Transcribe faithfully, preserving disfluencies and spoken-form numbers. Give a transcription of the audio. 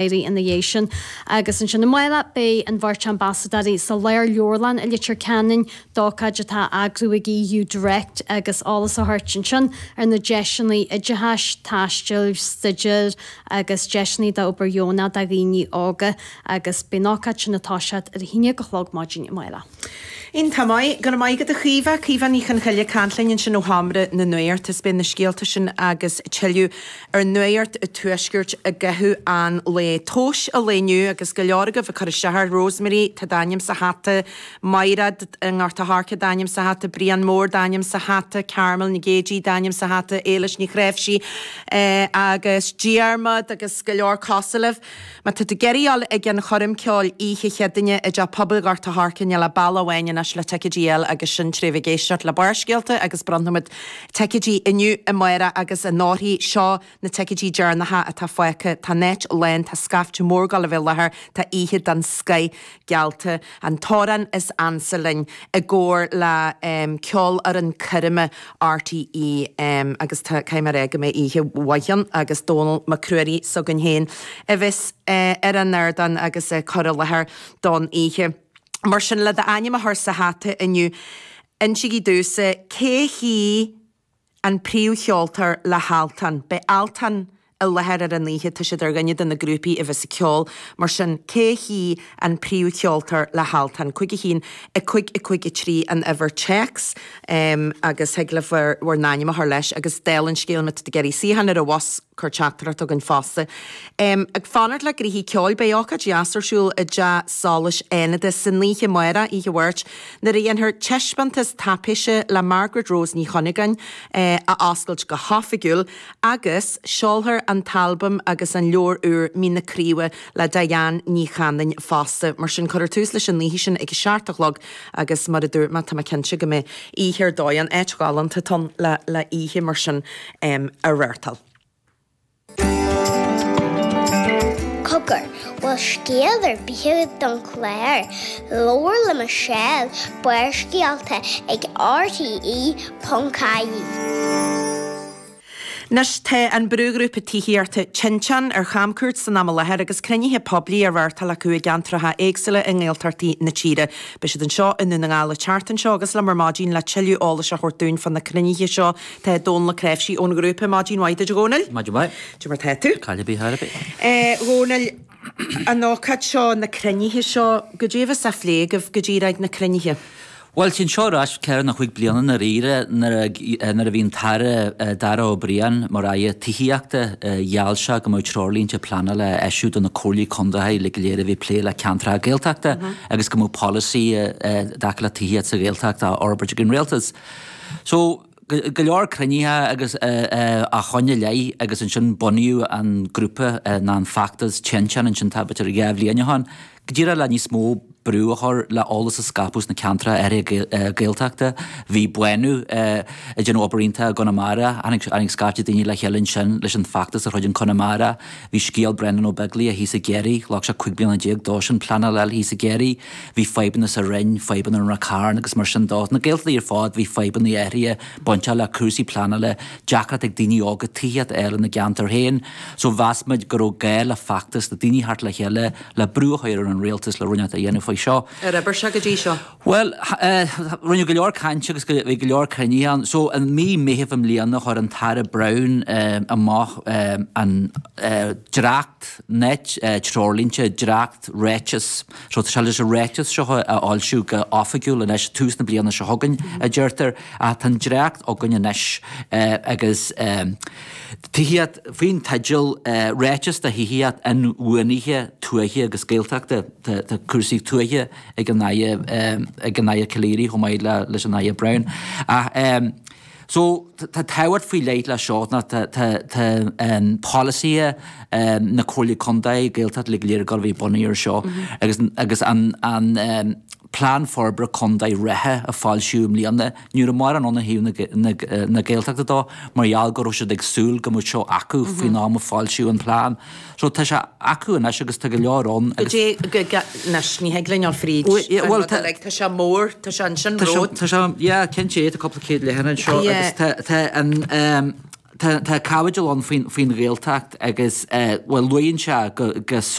Ina dhiaidh sin agus ansin amárach beidh an bheirt ambasadóirí sa Lárleabharlann i Leitir Ceanainn d'ócáid atá á eagrú ag EU Direct agus eolas a thabhairt ansin ar na deiseanna oideachais, taistil, staidéir agus deiseanna d'obair dheonach do dhaoine óga agus beidh an ócáid sin ag toiseacht ar a haon déag a chlog maidin amárach. Iontach maith, go raibh maith agat a Chaoimhe, Caoimhe Ní Chonchoille ag caint linn ansin ó Sheomra na Nuachta is beidh na scéalta sin agus tuilleadh ar Nuacht an Tuaiscirt i gcaitheamh an lae. Tomhais an lae inniu agus go leor agaibh ag cur isteach air, Rosemary, tá d'ainm sa hata, Maighread i nGort a' Choirce d'ainm sa hata, Brian Mór d'ainm sa hata, Carmel Nic Géidigh d'ainm sa hata, Éilis Ní Chréimhsí agus Diarmaid agus go leor cosúil libh. Má tá tú ag iarraidh dul ag an choirm ceoil oíche Chéadaoine i dTeach Pobail Ghort a' Choirce níl ach bealach amháin anois le ticéidí a fháil agus sin tré bheith ag éisteacht le Barrscéalta agus bronnfaimid ticéidí inniu, amárach agus anóirthigh. Seo na ticéidí deireanacha atá fágtha. Tá an áit lán, tá scaifte mór ag gabháil a bheith i láthair, tá oíche den scoith geallta. An t-amhrán is ansa linn i gcomhar le Ceolfhoireann Coirme RTÉ agus tá, caithfidh mé a rá go mbeidh oíche mhaith ann agus Dónall Mac Ruairí s'againn féin a bheas ar an ardán agus ag cur i láthair don oíche. Mar sin, le d'ainm a chur sa hata inniu, insígí domhsa cé hí an príomhcheoltóir le hAltan? Beidh Altan i láthair ar an oíche, tá siad ar dhuine de na grúpaí a bheas ag ceol, mar sin cé hí an príomhcheoltóir le hAltan? Cúig a haon, a cúig a cúig a trí an uimhir téacs agus thig libh bhur bhur n-ainm a chur leis agus dála an scéil má tá tú ag iarraidh suíochán ar an bhus, cuir teachtaireacht chugainn fosta. Ag fanacht le gnoithí ceoil, beidh ócáid dheas ar siúl i dTeach Solais Fhánada san oíche amárach, oíche Mháirt, nuair a dhéanfar taispeántas taipéise le Margaret Rose Ní Chuinneagáin a oscailt go hoifigiúil agus seolfar an t-albam agus an leabhar úr Mín na Craoibhe le Diane Ní Chanainn fosta. Mar sin, cuirfear tús leis an oíche sin ag a seacht a chlog agus mar a dúirt mé, tá mé cinnte go mbeidh oíche ar dóigh ann, áit ghalánta atá ann le le oíche mar sin a reáchtáil. Cogar, bhfuil scéal ar bith agat don chlár? Labhair le Michelle, Barrscéalta ag RTE ponc ie. Anois tá an brúghrúpa tithíochta Tinteán ar chamcuairt san am i láthair agus cruinnithe poiblí á reáchtáil acu i gceantracha éagsúla i nGaeltachtaí na tíre. Beidh siad anseo i nDún na nGall an tseachtain seo agus liom ar maidin le tuilleadh eolais a thabhairt dúinn fá na cruinnithe seo tá Dónal Ó Cnáimhsí ón ghrúpa. Maidin mhaith duit a Dhónaill. Maidin mhaith. Cad é mar tá tú? Caill ar bith, thar ar bith. A Dhónaill, an ócáid seo, na cruinnithe seo, goidé a bheas á phlé agaibh go díreach ag na cruinnithe? Bhuel, téann seo ar ais ceithre nó cúig bliana i ndáiríre nuair a nuair a bhí an tAire Darragh O'Brien mar Aire Tithíochta, gheall sé go mbeadh treoirlínte pleanála á eisiú do na comhairlí contae uilig go léir a bhí ag plé le ceantracha Gaeltachta agus go mbeadh polasaí i dtaca le tithíocht sa Ghaeltacht á fhorbairt ag an Rialtas. So, go leor cruinnithe agus ó shoin i leith agus ansin bunaíodh an grúpa nó an feachtas Tinteán ansin tá b'fhéidir dhá bhliain ó shin, go díreach le níos mó brú a chur le eolas a scaipeadh sna ceantracha áirithe Gaeltachta. Bhí Bánú ag déanamh obair iontach i gConamara, tháinig scaifte daoine le chéile ansin leis an feachtas a throid in Conamara. Bhí scéal Brendan Ó Beaglaoich thíos i gCiarraí, ghlac sé cúig bliana déag dósan pleanáil a fháil thíos i gCiarraí. Bhí fadhbanna sa Rinn, fadhbanna i Ráth Cairn agus mar sin de. Sna Gaeltachtaí ar fad bhí fadhbanna áirithe bainteach le cúrsaí pleanála, deacracht ag daoine óga tithíocht a fháil ina gceantar féin. So mheas muid go raibh gá le feachtas, le daoine theacht le chéile le brú a chur ar an rialtas le rud inteacht a dhéanamh faoi seo. Ar oibir sé go dtí seo? Bhuel, rinneadh go leor cainte agus bhí go leor cruinnithe ann. So i mí Meithimh i mbliana chuir an tAire Browne amach an dréacht, na treoirlínte, dréacht ráiteas. So tá sé leis an ráiteas seo a fhoilsiú go oifigiúil anois, tús na bliana seo chugainn, a deirtear. Ach tá an dréacht againn anois agus tithíocht, faoin teideal Ráiteas do Thithíocht Inbhuanaithe Tuaithe agus Gaeltachta, tá cúrsaí tuaithe ag an Aire, ag an Aire Calleary chomh maith leis an Aire Browne. Ach so tá tábhacht faoi leith leis seo ná tá tá tá polasaithe na Comhairle Contae, Gaeltacht uilig go léir ag dul a bheith bunaithe ar seo agus agus an an Plean Forbartha Contae reatha a foilsíodh i mbliana, ní raibh mórán ann ó thaobh na Gaeltachta dó mar gheall go raibh siad ag súil go mbeadh seo acu faoin am a foilsíodh an plean. So tá sé acu anois agus tá go leor ann agus. Goidé, anois, ní thig linn dul fríd an rud uilig, tá sé mór, tá sé ansin romhat. Tá sé, yeah, cinnte, tá cúpla céad leathanach anseo agus tá an, Tá caibidil ann faoin Ghaeltacht agus, bhuel, luíonn sé go